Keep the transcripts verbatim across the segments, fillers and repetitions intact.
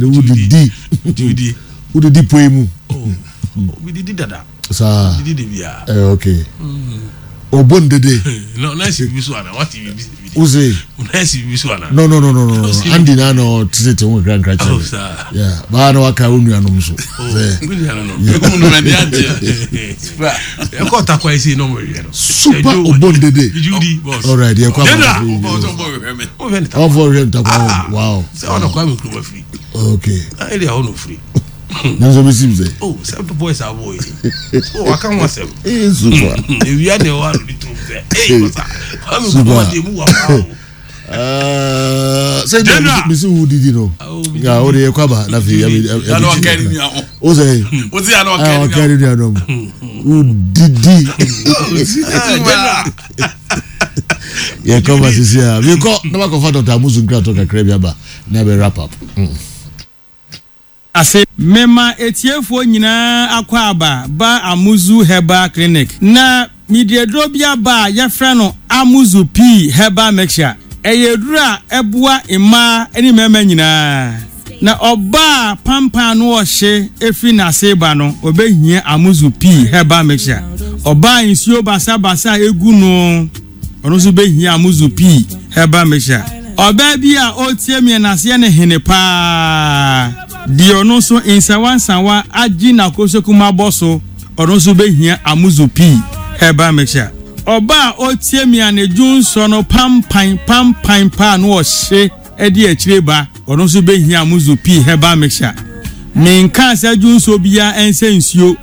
Wodidi wodidi poe mu. Didi dada. Saa. Didi de bia. Eh, okay, ɔbɔ ndede. No na si bibi so ana wati bibi? Wose? Na si bibi so ana? no no no no no no Andy na na ɔtete ho nkra nkra Oh, kyerɛ. Saa. Yeah, baa na waka wo nuanom so sɛ Mi nua no no. Ekum no mɛ ni agye. Ɛkɔ takwa esi na ɔmo hwɛ no. Super ɔbɔ ndede. Judy boss. Alright, yɛ kɔ. General. Ɔbɔ ɔsɔ bɔ hwɛ mi. Ɔmo hwɛ ne takwa. Ɔfɔ hwɛ ntakwa, wow. Sɛ ɔna Kwame Nkrumah firi. Okay. Na area hɔ na ofiri. Nanso bɛ sim sɛ Oh, sɛ boys abo yi. Oh, waka ho asɛm. Ee, super. Ewia na ɛwɔ ano de tum sɛ. Ee, basa. Kwame Super. Nkrumah de mu wa paa o. Uh, sɛ General. mesi wo didi no Oh, mi ya o de yɛ kɔ aba na afei yɛ Yana ɔkɛ ni nua ho. o sɛ O ti yana ah ɔkɛ ni ɔkɛ nua ni nuanom wo didi. General. Yɛ kɔ ba sisi a mi kɔ na ma kɔ fa Doctor Amusu nkratɔ kakra bi aba na bɛ wrap up. Mm. Ase mema etiefoɔ nyinaa akɔ aba ba Amuzu Herbal Clinic, na mede aduro bi aba a yɛfrɛ no Amuzu Pii Herbal Mixture. Ɛyɛ aduro a ɛboa mmaa ne mmarima nyinaa, na ɔbaa pampan no ɔhye efiri n'ase ba no, ɔbɛhia Amuzu Pii Herbal Mixture. Ɔbaa nsuo basabasa a egu no, ɔno nso bɛhia Amuzu Pii Herbal Mixture. Ɔbaa bi a ɔretie mi n'aseɛ ne hene paa deɛ, ɔno nso nsawansawa agye n'akosokum abɔ so, ɔno nso bɛhia Amuzu Pii Herbal Mixture. Ɔbaa a ɔretie mi a ne dwonsɔ no pampan pampan paa no ɔhye ɛde akyire ba, ɔno nso bɛhia Amuzu Pii Herbal Mixture. Menka sɛ dwonsɔ biara ɛnsɛ nsuo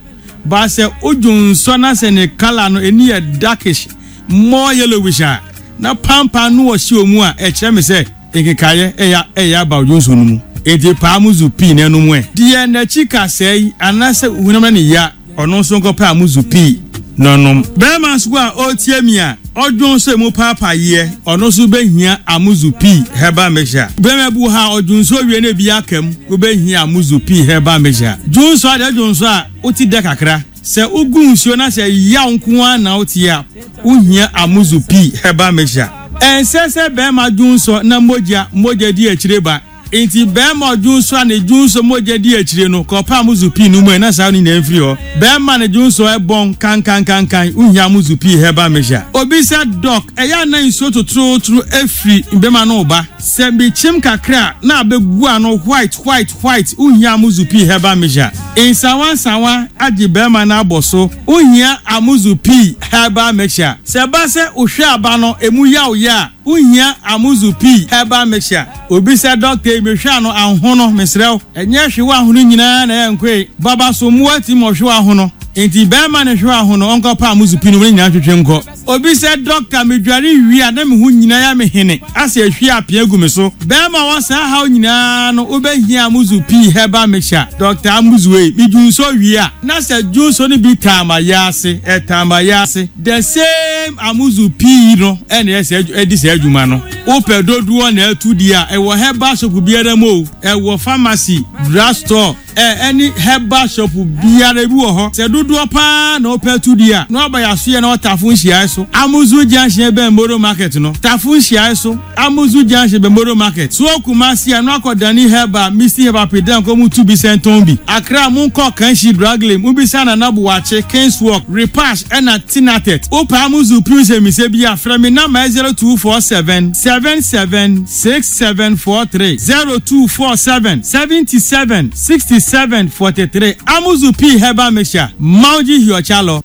ba, sɛ wodwonsɔ na sɛ ne colour no ani yɛ darkish, more yellowish a, na pampan no ɔhyɛ wɔ mu a, ɛkyerɛ me sɛ nkekaeɛ ɛyɛ ɛyɛ aba dwonsɔ no mu. Enti paa Amuzu Pii n'anum ɛ deɛ n'akyi kasɛe yi anaasɛ hunam ne ya, ɔno nso nkɔpɛ Amuzu Pii n'ɔnom. Bɛrima nso a ɔretie mi a ɔdwon so emu paapaayeɛ, ɔno nso bɛhia Amuzu Pii Herbal Mixture. Bɛrima bi wɔ ha a ɔdwon so wie na ebi aka mu, wobɛhia Amuzu Pii Herbal Mixture. Dwon so adeɛ, dwon so a wote dɛ kakra, sɛ wogu nsuo na sɛ yaw nko ara na wote a, wohia Amuzu Pii Herbal Mixture. Ɛnsɛ sɛ bɛrima dwon so na mogya mogya di akyire ba. Nti bɛrima ɔdwon so a ne dwon so mogya di akyire no, kɔpa Amuzu Pii no mu ɛ na saa no nyinaa mfiri hɔ. Bɛrima ne dwon so ɛbɔn kankankankan, wohia Amuzu Pii Herbal Mixture. Obi sɛ, "Doc, ɛyɛ ana nsuo totorotoro efiri bɛrima no ba sɛ mekyim kakra a na abɛgu ano white white white?" Wohia Amuzu Pii Herbal Mixture. Nsawansawa agye bɛrima no abɔ so, wohia Amuzu Pii Herbal Mixture. Sɛ ɛba sɛ wohwɛ aba no emu yaw yɛ a, wohia Amuzu Pii Herbal Mixture. Obi sɛ, "Doctor yi, mehwɛ ano ahono, mesrɛ wo, ɛnyɛ hwewa ahono nyinaa na ɛyɛ nkoe baba so mmoa ti ma ɔhwewa ahono." Nti bɛrima ne hwewa ahono, ɔnkɔpa Amuzu Pii no wɔn nyinaa twetwe nkɔ. Obi sɛ, "Doctor, medware wie a na me ho nyinaa yɛ me hene asɛ ehwie apea gu me so." Bɛrima wɔ saa haw nyinaa no, wobɛhia Amuzu Pii Herbal Mixture. "Doctor Amuzu ei, medwu nso wie a na sɛ dwonso no bi taama yɛ ase, ɛtaama yɛ ase." The same Amuzu Pii no ɛna ɛsɛ ɛdi saa adwuma no. Wopɛ dodoɔ na ɛtu di a, ɛwɔ herbal shop biara mu o, ɛwɔ pharmacy, drug store, ɛ ɛne herbal shop biara bi wɔ hɔ. Sɛ dodoɔ paa na wopɛ tu di a, na waba yɛasoyɛ na wɔtafo nhyiae so, Amuzu Junction bɛn Moro Market no, Tafo nhyiae so, Amuzu Junction bɛn Moro Market so. Kumasi a, na wakɔ Dani Herbal, Misty Herbal, Pedan kɔ mu tu bi sɛ ntɔn bi. Accra, mu nkɔ Kanshi Dragley mu bisa Nana Buakye, Kings Walk, Repash ɛna Tinatet. Wopɛ Amuzu Pii sɛ mise bi a, frɛ me number zero two four seven seven seven six seven four three, zero two four seven seventy seven sixty seven forty three. Amuzu Pii Herbal Mixture, Mauji Hiochalo.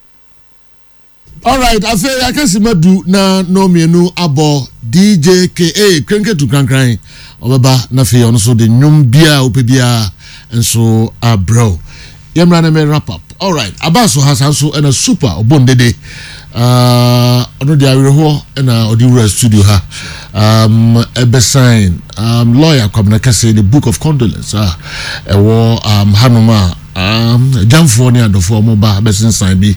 Alright, afei akasi ma du na no mmienu abɔ. D J Ka krenketu krankran ɔbɛba na afei ɔno nso de nnwom biara wopɛ biara nso abrɛw. Yɛmmra na mɛ wrap up. Alright, aba so ha saa nso ɛna super ɔbɔ ndede, ɔno de awerɛhoɔ ɛna ɔde wura studio ha, um, ɛbɛsign um, lawyer Kwabena Kɛse the book of condolence a ɛwɔ um, hanom a um, gyamfoɔ ne adɔfoɔ ɔmo ba bɛsensan bi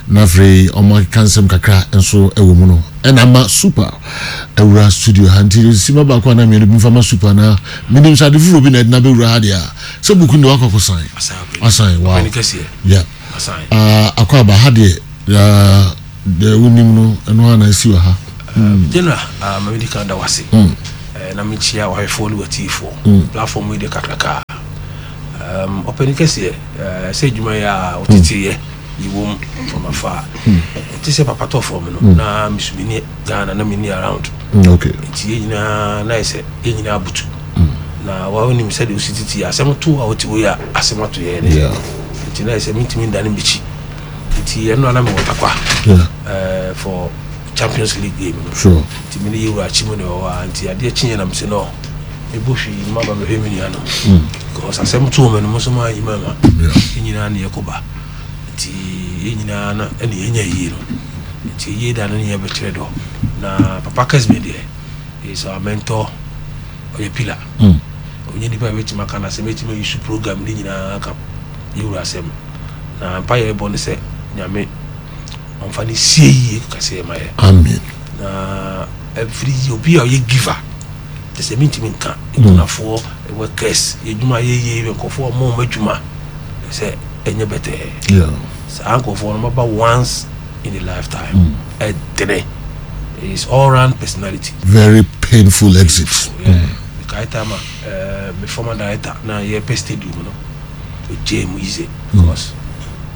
na afei ɔmo akeka nsɛm kakra nso ɛwɔ mu no, ɛna ama super awura studio ha. Nti sima baako anaa mmienu bi mfa ma super, na menim sɛ ade foforɔ bi na ɛde na bɛwura ha deɛ a sɛ book no de wakɔkɔ sign asan. Wow, yeah, uh, akɔ aba ha deɛ, uh, deɛ wonim no ɛno a na asi wɔ ha. General, uh, ma medi kan da wase, mm. uh, na mekyia wahwɛfoɔ ne watiifoɔ. mm. Platform yi de kakraka. Um, ɔpɛni kɛseɛ, eh, sɛ adwuma yi a ɔteteyɛ yɛwom from afar, ɛte sɛ papa tɔ fam no na meso menni Ghana na menni around. Mm, okay Nti yɛn nyinaa na yɛ sɛ yɛn nyinaa butu na wawonim sɛdeɛ wosi tete yɛ asɛm to a wote wei a asɛm ato yɛn ne. Yeah. Nti na yɛ sɛ mentumi ndane mekyi, nti ɛno a na mewɔ Takwa yeah eh, for Champions League game no. Sure nti mene yɛwura akyi mu ne wɔ hɔ a, nti adeɛ kyeeɛ na mesɛ no mebɔ hwii maba bɛhwɛ me nua no because asɛm too me no mo nso maayi ma ma Yeah. yɛn nyinaa ne yɛkɔba, nti yɛn nyinaa na ɛne yɛnya yie no, nti yie da no ne yɛbɛkyerɛ dɔ. Na papa Kesme deɛ is our mentor, ɔyɛ pillar. Mm. Ɔnyɛ nipa a bɛtumi aka no asɛm, bɛtumi ayi su program ne nyinaa ka yɛwura asɛm na mpa yɛ bɔ ne sɛ Nyame ɔmfa ne sie yie kɛseɛ ma yɛ. Amen. Na ɛfiri yi obi a ɔyɛ giver te sɛ mentumi nka nkunafoɔ, workers, yɛdwuma yɛyie, nkɔfoɔ ɔmo ɔmo adwuma sɛ ɛnyɛ bɛtɛɛ. Yeah saa nkɔfoɔ no maba once in a lifetime, ɛdene is all round personality. Very painful exit. Yeah. Mekae time a eh, me former director na yɛpɛ stadium no, ɔgyee mu easy because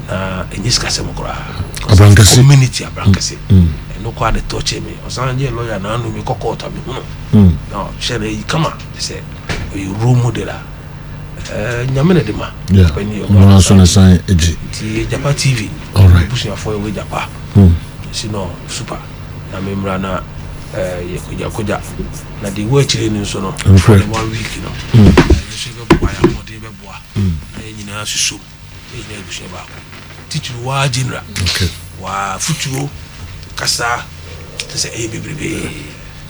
na ɛnyɛ sikasɛm koraa. Because Abrankɛse. Community Abrankɛse ɛno koraa de tɔkyɛ me, ɔsan yɛ lawyer na ano mekɔ court a mehu no na ɔhyɛ no ayi kama te sɛ ɔyɛ role model a eh, Nyame na de ma. Yeah Ɔpɛni ɔno nso ne san agyi. Nti Agyapa T V All right. abusuafoɔ yɛwɔ Agyapa si no super na memmra na eh, yɛ kogyakogya na deɛ ɛwɔ akyire no nso no Nokorɛ. the one week no ɛno nso yɛbɛboa, yɛ ahoɔden bɛboa na yɛn nyinaa susom, yɛn nyinaa abusua baako, titiri waa general. Okay waa futuo kasa te sɛ ɛyɛ bebrebee.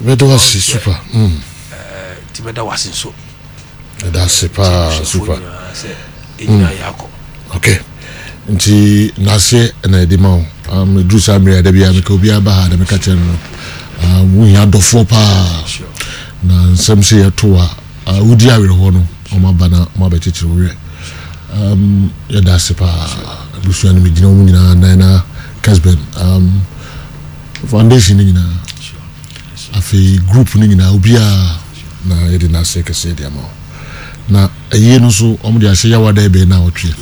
Bɛda wase super mm. Eh, nti mɛda wase nso. Ɛda ase paa. Abusuafoɔ super nyinaa sɛ yɛn nyinaa yɛ akɔ. Okay, nti n'aseɛ ɛna yɛde ma wo. um, ɛduru saa mmerɛ a da biara meka obiara ba ha da meka kyerɛ no no um, wohia adɔfoɔ paa. Sure. Na nsɛm sɛ yɛto a uh, wodi awerɛhoɔ no, ɔma ba na ɔma bɛkyekyere wo werɛ. um, yɛda ase paa, abusua no megyina mu nyinaa nan na Kesben um, foundation no nyinaa. Sure afei group no nyinaa, obiara na yɛde n'aseɛ kɛseɛ de ama wo. Na ɛyie no nso ɔmo de ahyɛ Yawada ɛbɛn na ɔtwe,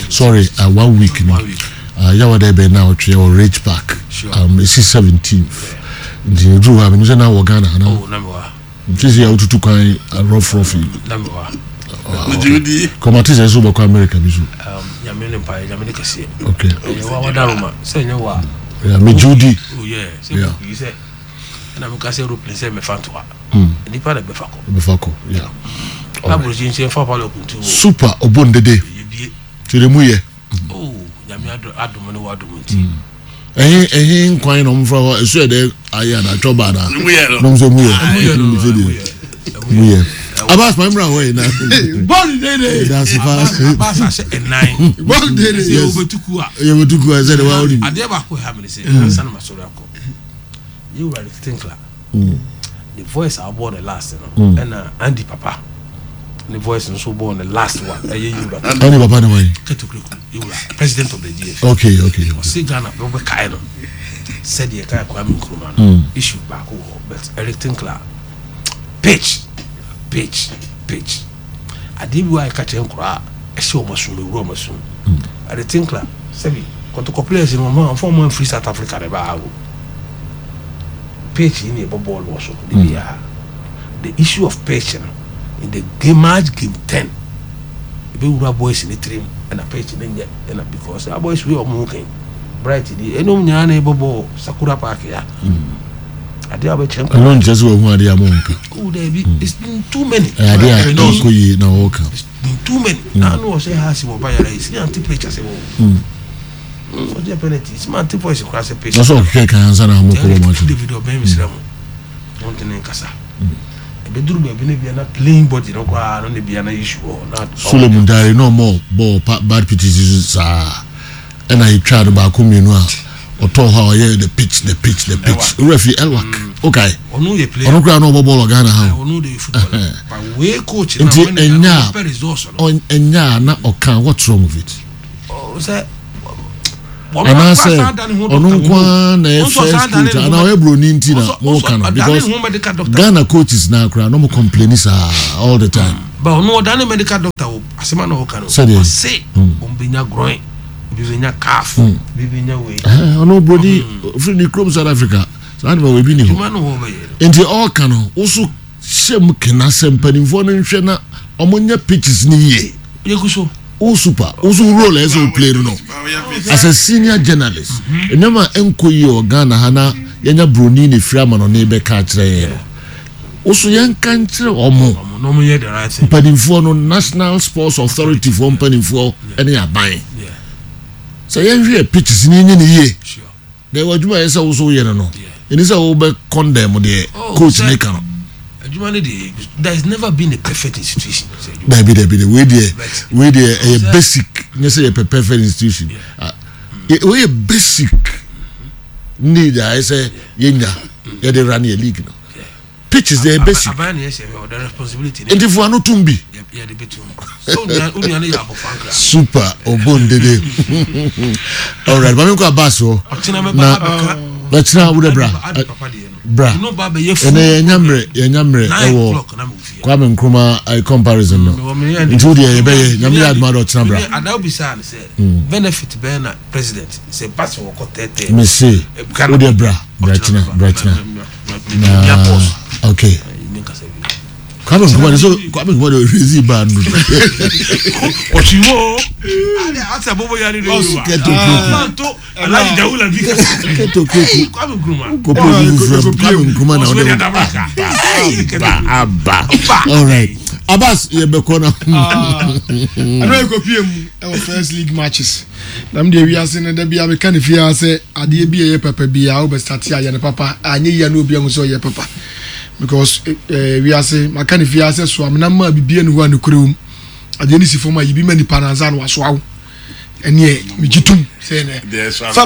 sorry, uh, one week no. One week. uh, Yawada ɛbɛn na ɔtwe wɔ Ridge Park. Sure. um, ɛsi seventeenth, nti ɛduru hɔ a menim sɛ na wɔ Ghana ana? Oh, na mewɔ ha. Nti sɛ yɛwotutu kwan uh, rough rough yi. Na mewɔ ha. Gyewudi. Kɔmate sɛ sɛ wobɛkɔ America bi so. Um, nyame ne mpaeɛ, Nyame ne kɛseɛ. Okay ɛyɛ wa wadaroma sɛ ɛnyɛ wa. Yeah, megye wo di. Oh yeah, sɛ Yeah. book yi sɛ ɛna meka sɛ aeroplane sɛ mɛfa ntoa Mm. nipa na bɛfa kɔ. Wobɛfa kɔ, yeah. Aburokyi nkyɛn fa pa lɔkuntu o. Super ɔbɔ ndede. Yɛbie. Kyerɛ mu yɛ. Oh, Nyame ado- adom ne wadom nti. Ɛhe ɛhe nkwan na ɔmfra hɔ ɛso yɛ dɛ ayɛ ana atwɔ ba ana? Mu yɛ no. Na ɔmo sɛ mu yɛ. Ɛmu yɛ no. Mu Ɛmu yɛ. yɛ. Mu yɛ Abbas maa mmerɛ hɔ yi na Bɔɔlu dede. Ɛda ase paa. Abbas ahyɛ ɛnan. Bɔɔlu dede. Sɛ Yes. wobɛtuku a yɛ bɛtu ku a sɛ de wa wonim. Adeɛ baako ɛha me ne sɛ ansa na masɔre akɔ, yɛwura de Tinkler the voice a wobɔɔ ne last no, ɛna Andy papa ne voice nso bɔɔ ne last one, ɛyɛ yɛwura Ɛne papa ne wɔn? Ketokureku, yɛwura president of the G F A. okay okay Ɔse Ghana bɛbɛkae no sɛdeɛ ɛkae Kwame Nkrumah no, issue baako wɔ hɔ, but Eric Tinkler pitch pitch pitch adeɛ bi wɔ a ɛka kyerɛ nkoraa a ɛhyɛ ɔmo asom, ewura ɔmo asom. Eric Tinkler sɛbi Kɔtɔkɔ players no, ɔmo amfa ɔmo amfiri South Africa ne baa o pitch yi ne ɛbɔ bɔɔl wɔ so de biara. The issue of pitch no in the game, match game ten, ebɛwura boys ne tirim ɛna pitch ne nyɛ ɛna because our boys wey ɔmo ho kan bright di ɛna ɔmo nyinaa na ɛbɔ bɔɔl Sakura Park ya adeɛ a ɔbɛkyerɛ nkɔla. Ɛno nkyerɛ sɛ wahu adeɛ a monka. Oh dɛbi, it's been too many. Ɛyɛ adeɛ a ɛkɔ yie na wɔka. It's been too many na ano ɔsɛ ha si wɔ ba yàrá yi si ante pitch ase wɔ ɔjɛ penalty si ma ante voice kora sɛ pitch. Na sɛ ɔkeka kan ansa na amokɔ bɔ match no. David ɔbɛn mi sira mu wɔn tɛ ne nkasa ebeduru baabi ne bia na playing body no koraa no ne bia na issue wɔ na. Solomon Dare na ɔmɔ bɔɔl pa bad pitches so saa ɛna yɛtwa no baako mmienu a ɔtɔɔ hɔ a ɔyɛ the pitch, the pitch, the pitch, owura fi Elwak okay. Ɔno yɛ player. Ɔno koraa na ɔbɔ bɔɔl wɔ Ghana ha o. Ɔno de football but wei coach na nti wɔn ɛnya pɛ results no. a ɛnya a na ɔka, what's wrong with it? Ɔ sɛ Anaasɛ ɔno nko ara na ɛyɛ first coach anaa ɔyɛ buroni nti na mo ka no? Because Ghana coaches na akora na mo complain saa all the time. But ɔno ɔdane medical doctor wɔ Asɛm a na ɔka no, Sɛdeɛ? ɔse ɔmo bɛnya groin, obi bɛnya calf, obi bɛnya wei. Eh, ɔno broni firi ne kurom South Africa saa de ma wɔ ebi ni hɔ. Adwuma no wɔ bɛyɛ no. Nti ɔɔka no, woso hyɛ mu kena sɛ mpanimfoɔ no nhwɛ na ɔmo nyɛ pitches ne yie. Yɛgu so. Wo super, wo so role a ɛsɛ wo play no no as a senior journalist, nneɛma a ɛnkɔ yie wɔ Ghana ha na yɛnya broni ne firi ama no ne bɛka akyerɛ yɛn no, wo so yɛnka nkyerɛ ɔmo. Ɔmo na ɔmo yɛ the right thing. Mpanimfoɔ no, National Sports Authority foɔ mpanimfoɔ ne aban Yeah, sɛ yɛnhwɛ yɛ pitches ne yɛnyɛ ne yie. Sure. Na ɛwɔ adwuma a ɛyɛ sɛ wo so woyɛ no no Yeah. ɛni sɛ wobɛ condemn deɛ Oh, coach sɛ- ne ka no. Adwuma no deɛ, there has never been a perfect institution sɛ adwuma. Dabi, dabi, dabi, wei deɛ But- wei deɛ ɛyɛ Sɛ- basic, nyɛ sɛ yɛpɛ perfect institution. Ah, yɛ- wei yɛ basic need a ɛyɛ sɛ yɛnya yɛde run yɛ league no, pitches deɛ yɛ basic. Aban ne yɛ sɛ ɔda responsibility ne. Nti fo ano tum bi. yɛ- yɛde bɛtum sɛ onua onua no yɛ abɔfra nkra. Super obon dede. Alright, maame nkɔ Abbas hɔ. Ɔkyena mɛba Na- abɛka. Bɛkyena wo de bra. Ade papa deɛ no. Bra. No ba bɛyɛ full. Ɛnɛ yɛnya mmerɛ yɛnya mmerɛ Nine ɛwɔ o'clock na mewɔ fie. Kwame Nkrumah eh, comparison no. Mewɔ me yɛ- Nti wo deɛ yɛbɛyɛ, Nyame yɛ adoma de, ɔkyena bra. Ada obisaa no sɛ benefit bɛn na president sɛ ba sɛ wɔkɔ tɛɛtɛɛ. Mese wo deɛ bra bra kyena, bra kyena na okay. Kwame Nkrumah de so, Kwame Nkrumah de ohwezi baa no. Ɔtwiwo ase abobo yare de yoruba. Kɛtɔ kuroku. Manto Alhaji Jawula bi. Kɛtɔ kuroku. Kwame Nkrumah. Kɔpɔ obi foforɔ, Kwame Nkrumah na ɔde ɔde aba. Alright, Abbas, yɛbɛkɔ na. Ɛno yɛ kɔpie mu ɛwɔ first league matches na mede wiase no da bia meka ne fie a sɛ adeɛ bi a ɛyɛ papa biaa wobɛstart ayɛ no papa, anyɛ yia na obi ahu sɛ ɔyɛ papa because eh, wiase maka ne fie a sɛ soa menam ma bibia ne hɔ a nokorɛ wom, adeɛ no si fam a yibi ma nipa no ansa na wasoa wo. Ɛneɛ megye tom sɛ nɛ Deɛ ɛsoa fa.